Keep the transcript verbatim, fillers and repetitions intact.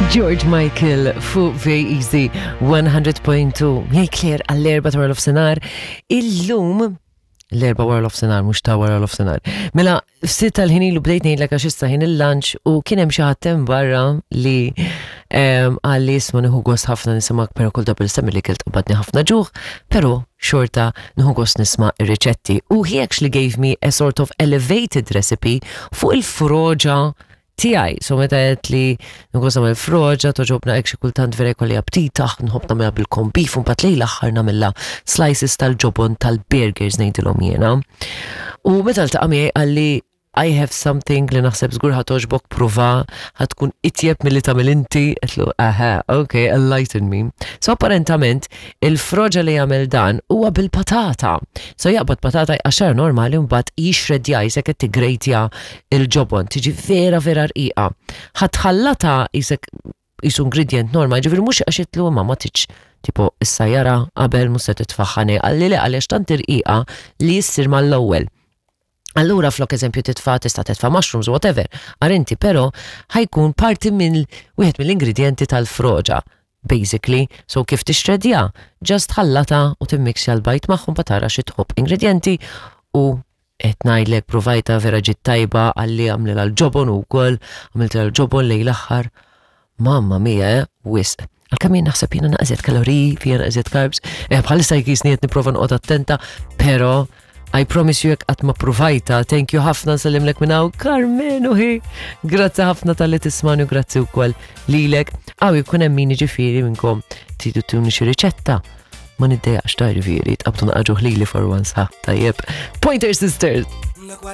George Michael fuq Very Easy one hundred point two. Miegħi Claire għall-erbgħa ta' nofsinhar. Illum l-erbgħa wara nofsinhar, mhux ta' wara nofsinhar. Mela, ftit tal-ħin ilu bdejt ngħidlek għax issa ħin il-lunch u kien hemm xi ħadd hemm barra li qalli, "Isma', nieħu gost ħafna nismgħek, però kull darba li li kilt qabadni ħafna ġuħ, però xorta nieħu gost nisma' ir-riċetti." U he actually gave me a sort of elevated recipe fuq il-froġa tiegħi. So meta għedt li nħobb nagħmel froġa, togħġobna hekk xi kultant vera jkolli aptita, nħobb nagħmilha bil-corned beef, u mbagħad lejn l-aħħar nagħmilha slices tal-ġobon tal-burgers ngħidilhom jiena. U meta ltaqa' miegħi qalli, "I have something li naħseb żgur ħa togħġbok, prova, ħa tkun itjeb milli tagħmel inti." Għedtlu, "Aha, ok, enlighten me." So apparentament il-froġa li jagħmel dan huwa bil-patata. So jaqbad patata jqaxxar normali, mbagħad jixredja qisek qed tigrejtja il-ġobon, tiġi vera vera rqiqa. Ħa tħallatha qisek qisu ingredient normal, ġifieri mhux għax għedtlu ma ma tiġ tipo issa jara qabel mhux se titfaħħani, qalli le, għaliex tant irqiqa li jissir mal-ewwel. Allura flok eżempju titfa' tista' titfa' mushrooms, whatever. Għar inti però ħa jkun parti minn wieħed mill-ingredienti tal-froġa. Basically, so kif tixredja, just ħallata u timmixja l-bajd magħhom pa tara xi tħobb ingredienti u qed ngħidlek provajta, vera ġiet tajba. Qalli għamlilha l-ġobon ukoll, għamilt l-ġobon lejn l-aħħar. Mamma mia, eh, wisq. Għalkemm jien naħseb jiena naqżet kaloriji, fija naqżet carbs, eh, bħalissa jkisni qed nipprova noqgħod attenta, però I promise you, jekk qatt ma provajta, thank you ħafna, nsellimlek minn hawn Carmen uħi. Grazzi ħafna talli tismani u grazzi wkoll lilek. Għaw jkun hemm min ġifieri minnkom tridu tuni xi riċetta. Ma niddejjaqx ta', ġifieri, tqabdu naqaġu ħlili for once, ha, tajjeb. Pointer Sisters!